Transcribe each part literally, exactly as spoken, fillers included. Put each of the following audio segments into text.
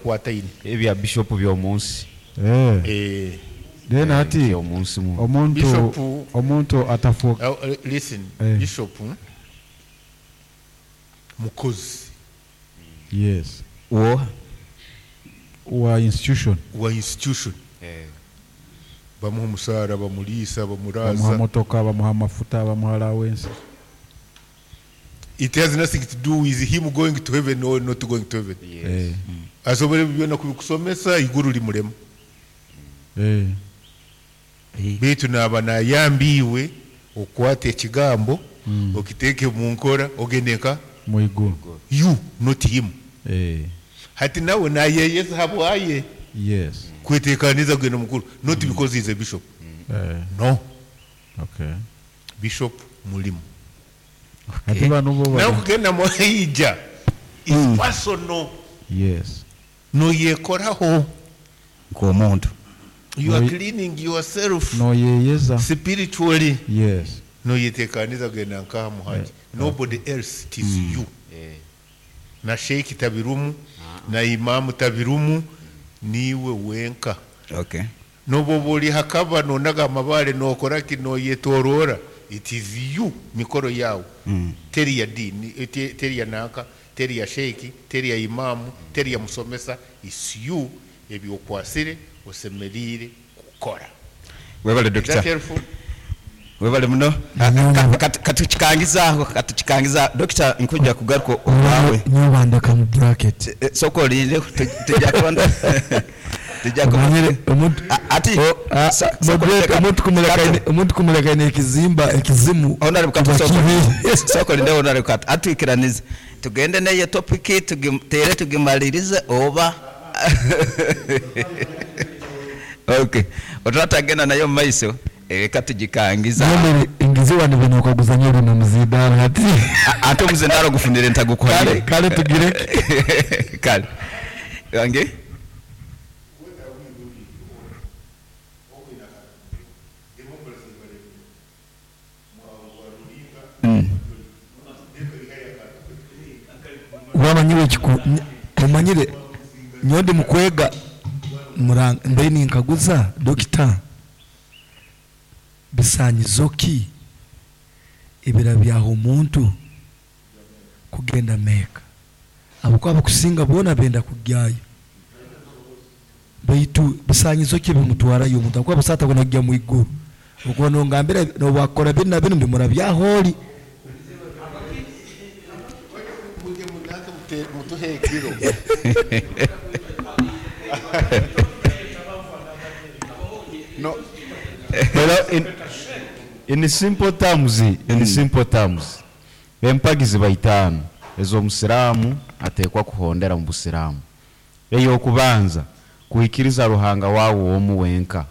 Kwataine. Ebya bishop by'omunsi. Eh. Eh. Then hati By'omunsi mu. omuntu Bishop omuntu atafuuka Uh, uh, listen, Eh. bishop mukozi. Yes. Wo wa institution. Wa institution. Eh. Bamuha omusaara, bamuliisa, bamuha bamuraaza. Motoka, bamuha amafuta, bamuha allowance. It has nothing to do with him going to heaven or not going to heaven. Yes. Eh. Asobora ebyo byona kubikusomesa, iguru limurema. Eh. Baitu naaba nayambiwe okwata ekigambo, okiteeke mu nkora, ogende nka mwiguru. You, not him. Eh. Hati nawe nayeyeza habwaye Yes. kwetekaniza kugenda mukuru, not because he is a bishop. Eh. No. Okay. Bishop mulimu. Hati bano bo Nawe bali- kugenda muhaija is personal. Yes. Noyekoraho. Nk'omuntu. You are Noi- cleaning yourself noyeyeza spiritually. Yes. Noyetekaniza kugenda nkaha muhaji. Nobody else, it is you. Eh. Na sheikh tabirumu, na imamu tabirumu, niwe wenka. Okay. Noboba oli hakaba nonaga amabale nokora ki noyetorora, it is you, mikoro yawe. Mm. Teri ya dini, eh, te- teri ya nanka, teri ya sheikh, teri ya imamu, teri ya musomesa, is you. Ebyokwasire osemerire kukora. Webale Is that doctor. helpful? Webale muno. Katukikangizaho, katukikangiza doctor, nkujja kugaruka okwawe. Nyo bandeka mu bracket. Eh, sooka olinde, tujja kubona, tujja kubona. Omanyire omuntu Ati Ah, sa- sooka moderator, olinde- omuntu kumuleka ine- omuntu kumuleka ine ekizimba ekizimu. Honorable Kato, Kuba sooka- kibi. sooka olinde Honorable Kato, atwikiranize tugende neyo topic tugi- tere tugimalirize oba. Okay, otwatagenda nayo mu maiso, reka tugikangiza. Nyomere ingiziwa ni bino okaguzanya bino muzindalo ati. A- ate omuzindalo gufunire ntagukuhanire. Kale, kale tugireke. Kale wange. Mm. Wamanyire ekiku omanyire nyondi mukwega muranga mbe ninkaguza dokita, bisanyizo ki ebira byaho omuntu kugenda Meka? Abakuba bakusinga boona benda kugyayo, baitu bisanyizo ki bimutwarayo omuntu akuba busaata bona kujya mu iguru? Okuba nongambira nobwakora binu na binu ndimura byaholi. Mujye munange mute- mutuhe ekiro. No. Well, in, in simple terms, in simple terms, empagi ziba itaano ez'omusiraamu ateekwa kuhondera mu busiraamu. Ey'okubanza, kuikiriza Ruhanga wawe omu wenka,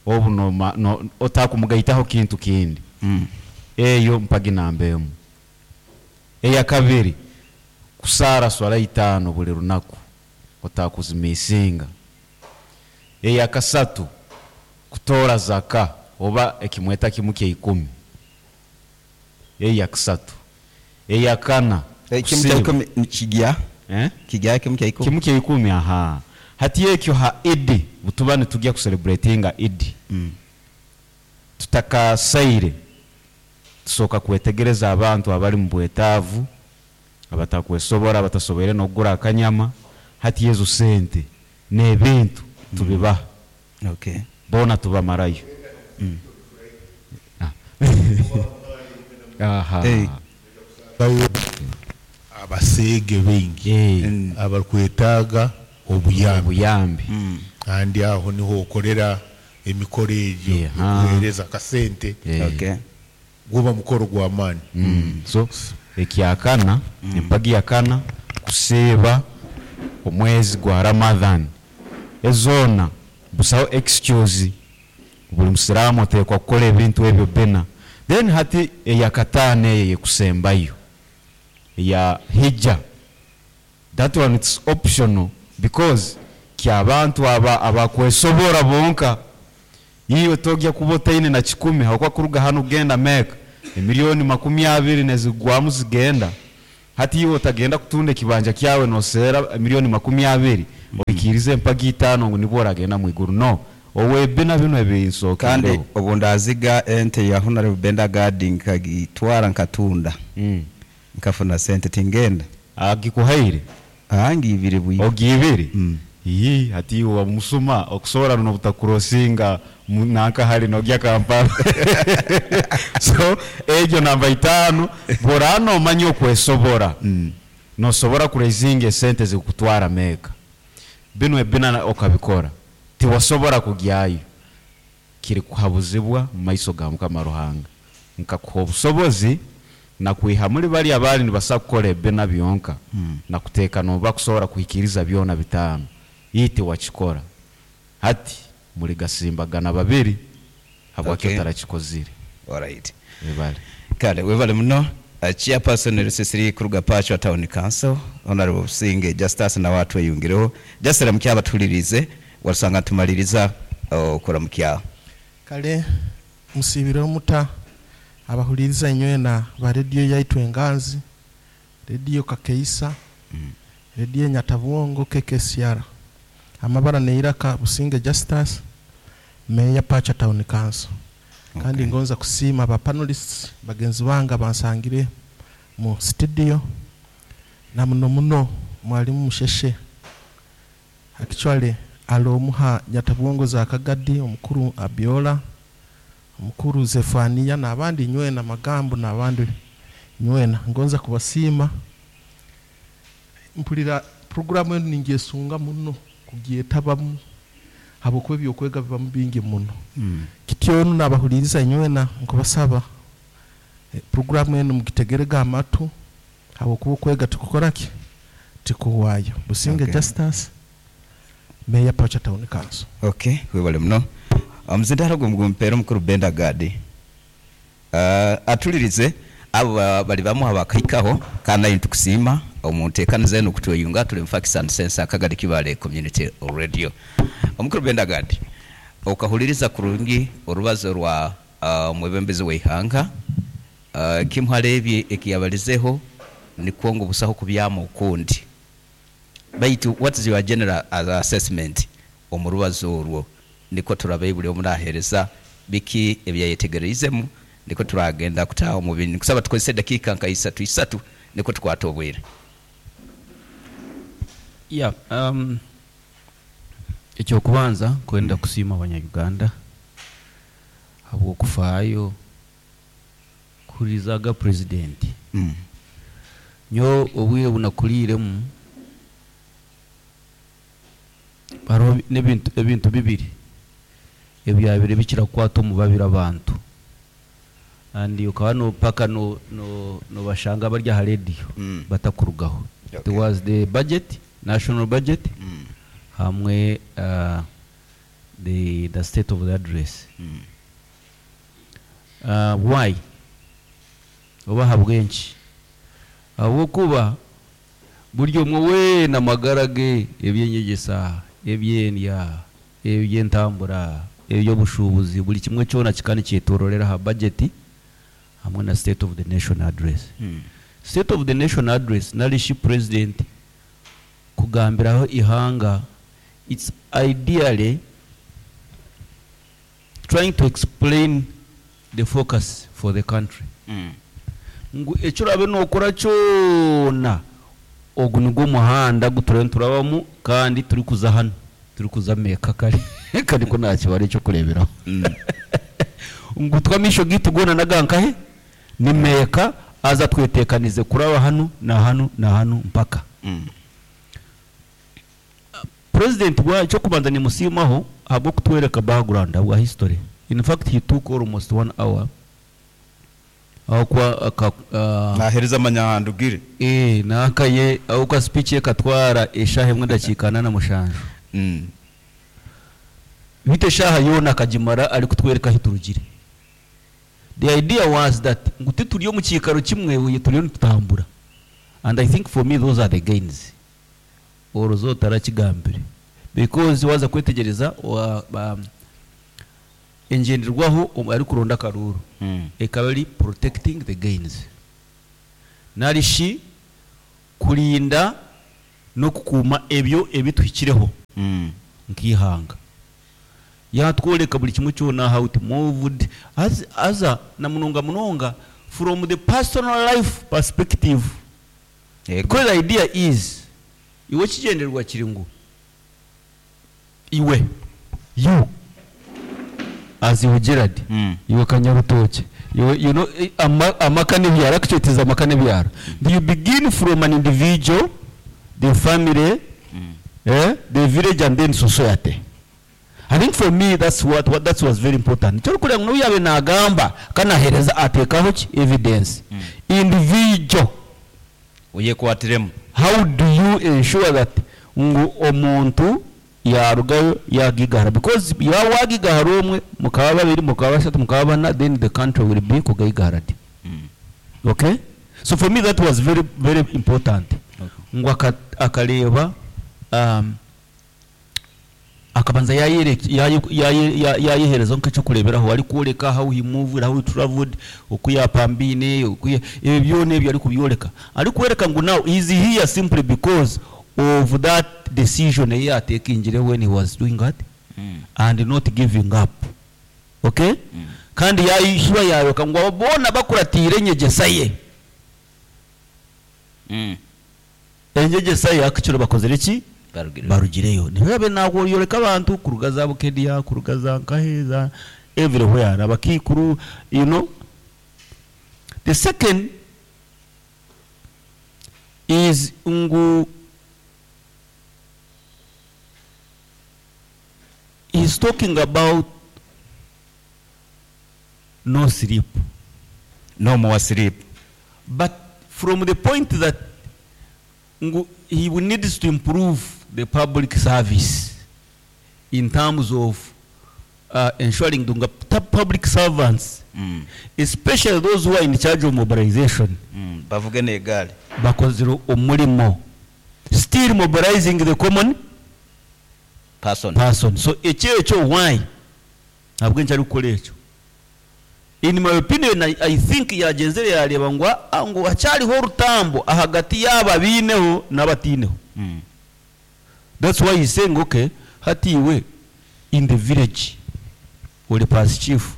obu noma, no, otakumugaitaho kintu kindi. Mm. Eyo mpagi namba emu. Eyakabiri, kusaara swala itaano buli lunaku, otakuzimisinga. Eyakasatu, kutoora zaka oba ekimweta kimu kya ikumi. Eyakasatu. Eyakana, Ekimu kya kusiiba. ikumi ni kigya? Eh? Kigya kimu kya ikumi? Kimu kya ikumi, aha. Hati ekyo ha Idi, butuba nitujya kucelebratinga Idi. Mm. Tutakasaire tusooka kwetegereza abantu abali mu bwetaavu, abatakwesobora, abatasoboire n'okugura akanyama. Hati ezo sente n'ebintu tubibaha. Okay. Boona tubamarayo. Mm. Ah. Aha. Hey. Abaseege baingi Hey. Mm. abarikwetaaga obuyambi. Obuyambi. Mm. Kandi aho niho okorera emikoro egyo, Yeah. okuheereza akasente. Yeah. Okay. Guba mukoro gw'amaani. Mm. So ekyakana, empagi yakana, kusiiba omwezi gwa Ramadhan. Ezoona busaho excuse, buli musiraamu ateekwa kukola ebintu ebyo bina. Then hati eyakataano eyo eyekusembayo eya hijja, that one it's optional because kyabantu aba abakwesobora bonka. Iwe togya kuba otaine na kikumi, hakuba kuruga hano kugenda Mecca emiliyoni makumi abiri nezigwamu zigenda. Hati iwe otagenda kutunda ekibanja kyawe noseera milioni makumi abiri, oikirize empagi itaano ngu nibwo oragenda mwiguru. No owebina bino Kandi ebinsokereho. Obu ndaziga ente ya Honorable Benda Gadi nkagitwara nkatunda, mm. nkafuna sente, tingenda. Agikuhaire? Angi ibiri bwi. Ogiibire? Mm. Ii, hati iwe wamusuma okusobora nobutakurosinga mu- nanka hali nogya Kampala. So egyo namba itaano, bworaba nomanya okwesobora, Mm. nosobora kuraisinga esente zikutwara Meeka, bino ebina na- okabikora, tiwasobora kugyayo, kiri kuhabuzibwa mu maiso ga Mukama Ruhanga. Nkakuha obusobozi nakwiha muri bali abali nibasa kukora ebina byonka, Mm. nakuteeka noba kusobora kuhikiriza byona bitaano, iti wakikora. Hati muri gasimbagana babiri habwaki Okay. otarakikozire? Alright. Ebale. Kale webale muno. uh, chairperson Rusisiri kuruga Pachwa Town Council, Honorable Businge Justus, nawe atweyungireho. Just ramukya abatulirize, wasanga tumaliriza okuramukya. Kale musibire omuta abahuliriza inywena ba rediyo yaitu Enganzi, Rediyo Kakeisa, Mm. Rediyo Nyatabwongo K K C R. Amabara neiraka Businge Justus, meya Pacha Town Council. Kandi Okay. ngonza kusiima aba panelists bagenzi bange bansangire mu studio, na muno muno mwalimu Musheshe. Actually alomuha Nyatabwongo za Kagadi, omukuru Abiola, omukuru Zefania n'abandi nywena magambo n'abandi nywena, ngonza kubasiima. Mpulira programu enu ningyesunga muno kugyetabamu habwokuba ebyokwega bibamu bingi muno. Mm. Kityo nabahuliriza inywena nkubasaba, eh, programu enu mugitegerega amatu habwokuba okwega tukukora ki tikuwaayo. Businge Okay. Justus, meya Pacha Town Council. Okay, webale muno. Omuzindaro gwe mugumpeera omukuru Benda Gadi, uh, atulirize abo ba- bali bamu abakahikaho. Kandi naye ntukusiima omunteekaniza eno okutweyunga. Tuli mu Facts and Sense, Akagadi Kibale Community Radio. Omukuru Benda Gadi, okahuliriza kurungi orubazo rwa uh, omwebembezi w'eihanga. uh, kimuharebye ekiyabalizeho nikwo ngu busaho kubyama ukundi, baitu what is your general assessment omu rubazo orwo? Niko turabe buli omu naheereza biki ebyayetegereizemu, niko turagenda kutaha omu bindi. Nkusaba tukozese dakiika nka isatu isatu, niko tukwata obwire. Yeah, um, ekyokubanza kwenda kusiima Abanyayuganda habwokufaayo kuhurizaga purezidenti. mm. Nyo obwire bunakuliiremu hariho n'ebintu ebintu bibiri ebyabire bikira kukwata omu babiri abantu, and ukaba no paka no no nobashanga bari aha radio Mm. batakurugaho. Okay. There was the budget, national budget, Mm. hamwe uh, the the state of the address. Mm. uh, why oba habwenki? Habwokuba buri omwe weena amagara ge, ebyenyegesa, ebyendya, ebyentambura, ebyobushubuzi, buri kimwe kyona kikaba nikyetororera aha budget hamwe na state of the nation address. Mm. State of the nation address narishi president kugambiraho ihanga, it's ideally trying to explain the focus for the country, Mm. ngu ekyo orabe nokora kyona, ogu nigwo muhanda guturiyo niturabamu kandi turi kuza hano, turi kuza Meeka. Kare kare ko nta kibara ekyokureberaho, Mm. ngu twamisho gitu gona nagankahe ni Meeka, aza twetekanize kuraba hano na hano na hano mpaka. Mm. President wa cyo kubanza nimusimaho habwo kutwereka background bwa history. In fact, he took almost one hour aho kwa aka, uh, Nahereza amanyahandugire. Eh, nakaye aho kwa speech ye katwara eshaha emwe ndakiika ana na mushanju. Mm. Bite shaha yona akagimara ari kutwereka aho turugire. The idea was that ngu tituri omu kiikaro kimwe, uye turiyo nitutambura, and I think for me those are the gains orozo tarakigambire, because waza kwetegereza wa- ba- engenderwaho omu- ari kuronda akaruru Mm. ekaba eri protecting the gains, narishi Kurinda n'okukuuma ebyo ebituhikireho Mm. nk'ihanga. Yatworeka buli kimwe kyona, how it moved as, aza na munonga munonga from the personal life perspective. Yego. Because the idea is, iwe kigendererwa kiri ngu iwe, you as iwe Gerard, Mm. iwe Kanyarutoki, iwe, you know, eh, ama, amaka n'ebyaro, actually it is amaka n'ebyaro. You begin from an individual, the family, Mm. eh, the village, and then society. I think for me that's what, what that was very important. Kyo kugira ngu yabe nagamba kanahereza atekaho ki evidence. Mm. Individual, Oyekwatiremu. How do you ensure that ngu omuntu yarugayo yagigahara? Because yawagigahara omwe, mukaba babiri, mukaba basatu, mukaba bana, then the country will be kugayigahara di. Mm. Okay, so for me that was very very important. Okay. Ngu aka- akareba um, akabanza yayereka- yaye- yaye- ya- yayehereza nk'ekyokureberaho, ari kworeka how he moved, how he traveled, oku yapambiine, oku ya- ebyo byona ebyo ari kubyoreka, ari kwereka ngu now he is here simply because of that decision ye yatekingire when he was doing that Mm. and not giving up. Okay. Mm. Kandi yayishuba yayoka ngu abo boona bakuratiire enyegyesa ye. Mm. Enyegyesa ye akikiro bakozere ki? Barugire. Barugireyo. Nibabe nakuyoreka abantu kuruga za Bukedia, kuruga za Nkaheza, everywhere, abakikuru, you know. The second is ngu he's talking about no sleep. No more sleep. But from the point that ngu he needs to improve the public service in terms of uh, ensuring the public servants, Mm. especially those who are in charge of mobilization, Mm. Bavuge n'egaali. bakozire omulimo, still mobilizing the common Person. person. So ekyo ekyo why ntabwo nkyari kukora ekyo. In my opinion, I, I think yagenzere yareba ngu ah, ngu hacyariho orutambo ahagati y'aba biineho n'abatiineho. Mm. That's why he's saying, okay, hati iwe in the village ori parish chief,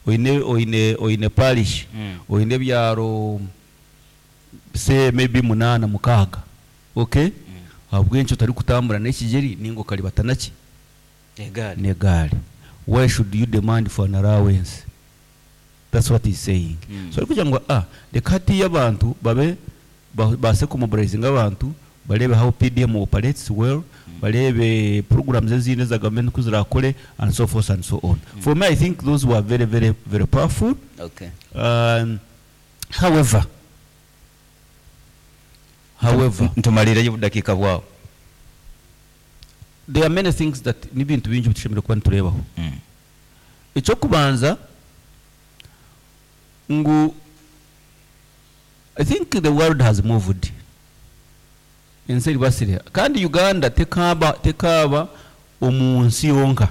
oine oine oine parish, Mm. oine ebyaro say maybe munana mukaaga, okay, mm. Habwenki otari kutambura n'ekigeri ninga okaribata naki? Egaali. Negaali. Why should you demand for an allowance? That's what he's saying. Mm. So ari kugira ngu ah, reka hatiyo abantu babe ba- baase kumobilizinga abantu, barebe how P D M operates well, barebe programs ezindi eza government uko zirakore, and so forth and so on. For me, I think those were very very very powerful. Okay. um, however however Ntumalireyo obudakiika bwawe. There are many things that n'ebintu bingi bitushemereire kuba nitureebaho. Mm. Ekyokubanza ngu I think the world has moved, ensi eribasire, kandi Uganda tekaba tekaba omu nsi yonka,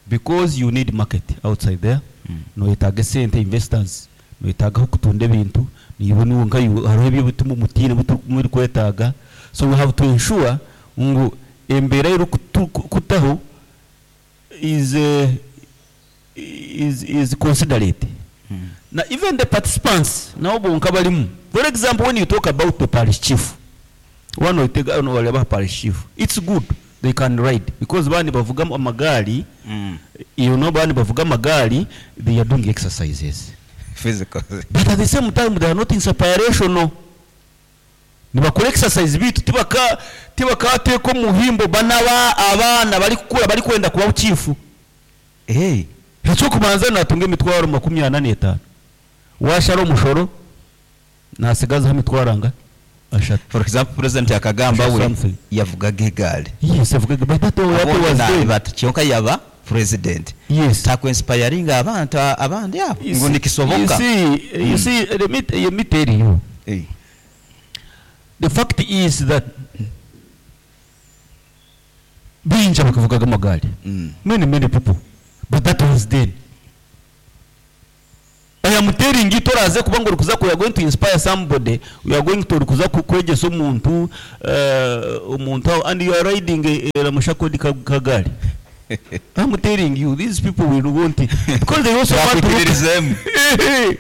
because you need market outside there. Mm. Noyetaaga esente, investors, noyetaaga aho kutunda ebintu niiwe niwe nka iwe, hariho ebyo bituma omutiine muri kwetaaga. So we have to ensure ngu embeera erikutaho is, uh, is, is considerate. Mm. Na even the participants nabo bonka barimu. For example, when you talk about the parish chief, wano otega ono wareba parish chief, it's good they can ride, because bandi bavuga amagari. Mm. You know, bandi bavuga amagari, they are doing exercises. Physical. But at the same time they are not inspirational. Nibakora exercise bitu tibaka tibakateeka omuhimbo banaba abaana bari kukura bari kwenda kuba chief. Hey. Ekyokubanza natunga emitwaro makumi ana n'etaano, washara omushoro nasigazaho emitwaro anga ashatu. For example, president akagamba we Something. yavugaga egaali. Yes, avugaga, but that was then. But kyonka yaba president. Yes. Takwinspiringa abantu abandi abo You ngu see- nikisoboka. You see, you see, let me, let me tell you. Hey. The fact is that bingi bakavugaga amagari. Mm. Many many people, but that was then. I am telling telling you toraze kuba ngo urikuza ku- you are going to inspire somebody you are going to urikuza ku- kwegesa omuntu uh, omuntu aho, and you are riding a, a ramushakodi kagari I'm telling you these people will want it because they also want to look Bakwikiririzemu.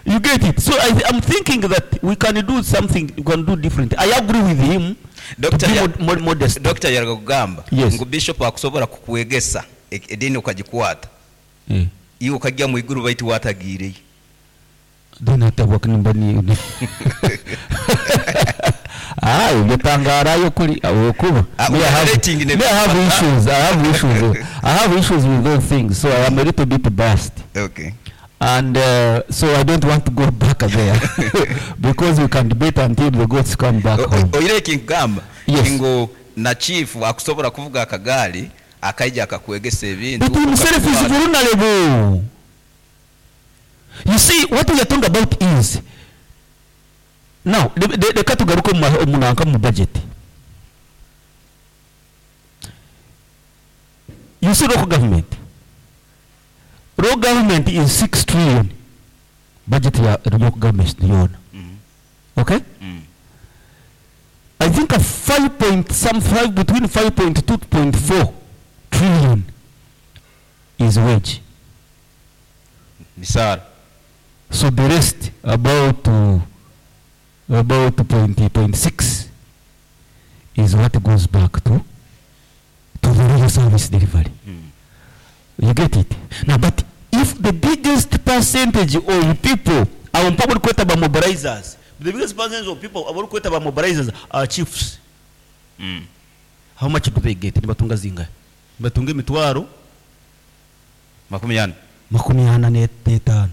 you get it so I, I'm thinking that we can do something we can do different I agree with him to Dr. be Ya- mod, mod, modest Dr. yaraga kugamba Yes. ngu bishop akusobora kukwegesa e- edini ukagikwata Eh. iwe ukajya mu iguru baitu watagiireyo then atabwa nimba ni ah ibyo tangarayo kuri abo kuba Ah, Me, I have- rating ne- me, I have issues I have issues I have issues with those things so I am a little bit biased okay and uh, so I don't want to go back there because we can debate until the goats come back home oire ekinkugamba Yes. ngu na chief akusobora kuvuga akagaali akaija akakwegesa ebintu But himself is ukabikwata. vulnerable. You see, what we are talking about is now reka tugaruke mu ma- mu nanka mu budget. You see, local government. Local government is six trillion. Budget ya local government yona. Mm, Okay? mm. I think a five point some five between five point two point four trillion is wage. misaara So the rest about uh, about point point six is what goes back to to the real service delivery. Mm. You get it? Now, but if the biggest percentage of people our public kweta ba mobilizers, the biggest percentage of people our kweta ba mobilizers are chiefs. Mm. How much do they get? Nibatunga zingahe? Nibatunga emitwaro makumi ana makumi ana n'etaano.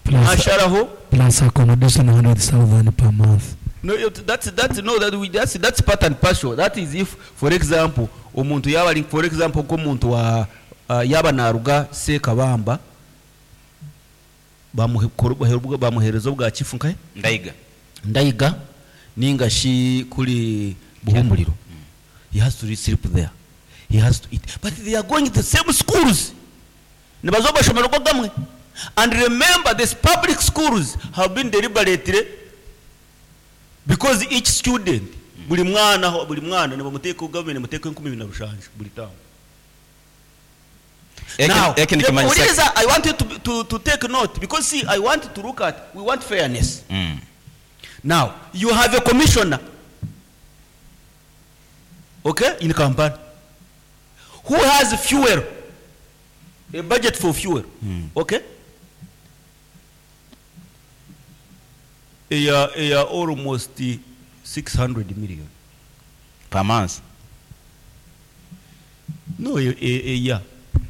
Plus, Asharaho plus accommodation hundred thousand per month. No, it- that's that's no that we that's that's part and partial. That is if for example omuntu yaba ali for example nk'omuntu wa uh, yaba naruga Sekabamba bamuhe- bamuhe- bamuhereza obwa chifu nkahe ndaiga Ndaiga ninga shi kuri Buhumuriro. He has to sleep there. He has to eat. But they are going to the same schools. Nibazo bashomero gamwe. And remember these public schools have been deliberately because each student buli mwana buli mwana nibamuteeka government muteeka enkumi ibiri na rushanju buli town. Eki- Now, eki nikimanyisa- Uliriza, I want you to, to, to take note because see, I want to look at, we want fairness. Mm. Now, you have a commissioner, okay, in Kampala, who has fuel, a budget for fuel, okay? A, a, almost six hundred million. per month No, a, a, a year.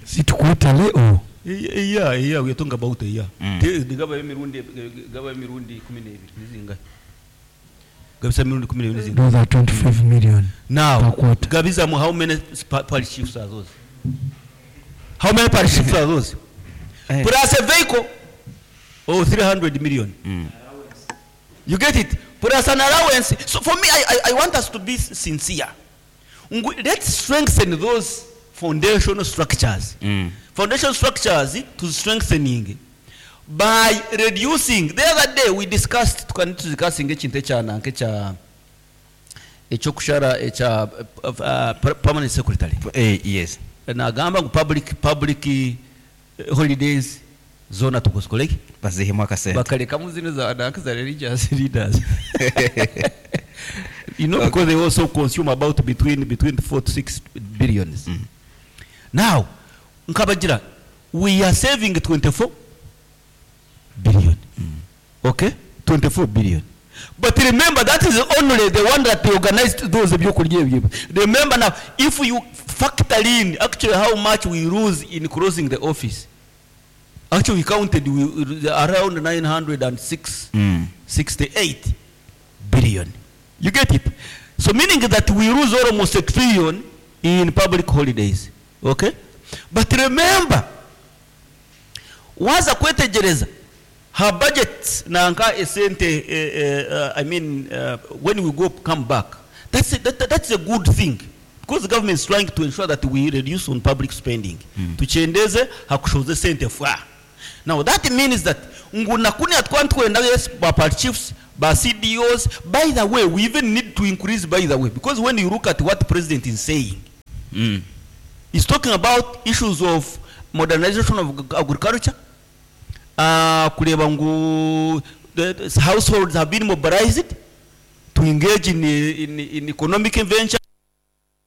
Is it quarterly or? A, a year, a year, we are talking about a year. Mm. Te- gaba emirundi gaba emirundi kumi n'ebiri nizingahe? Gabisa emirundi kumi n'ebiri nizingahe? Those are twenty-five million. Now, Per quarter. Gabizamu, how many pa- parish chiefs are those? How many parish chiefs are those? Eh. Plus a vehicle, oh, three hundred million. Mm. You get it? Plus an allowance. So for me, I, I, I want us to be sincere. Ngu- Let's strengthen those foundational structures. Mm. Foundation structures to strengthening by reducing. The other day we discussed, tukani discussing ekintu ekya ekya ekyokushara ekya uh, uh, permanent secretary. Eh, yes Nagamba ngu public public eh, holidays zona tukuzikoleki bazihemu akasente bakalekamu zino za nanka za religious leaders you know because they also consume about between between four to six billions Mm. now nkabagira we are saving twenty-four billion okay twenty-four billion but remember that is only the one that they organized those ebyokurya ebyo remember now if you factor in actually how much we lose in closing the office actually we counted we, around nine hundred and six Mm. sixty-eight billion. You get it? So meaning that we lose almost a trillion in public holidays. Okay? But remember, waza kwetegereza her budget nanka esente eh, eh, uh, I mean uh, when we go come back that's a, that, that's a good thing because the government is trying to ensure that we reduce on public spending mm. Tuchendeze hakushoze sente fwa now that means that Ngu nakuni atwantwenda, yes, ba party chiefs, ba C D Os. By the way, we even need to increase, by the way, because when you look at what president is saying, Mm. he's talking about issues of modernization of ag- agriculture, uh, kureba ngu the, the households have been mobilized to engage in, in, in economic venture.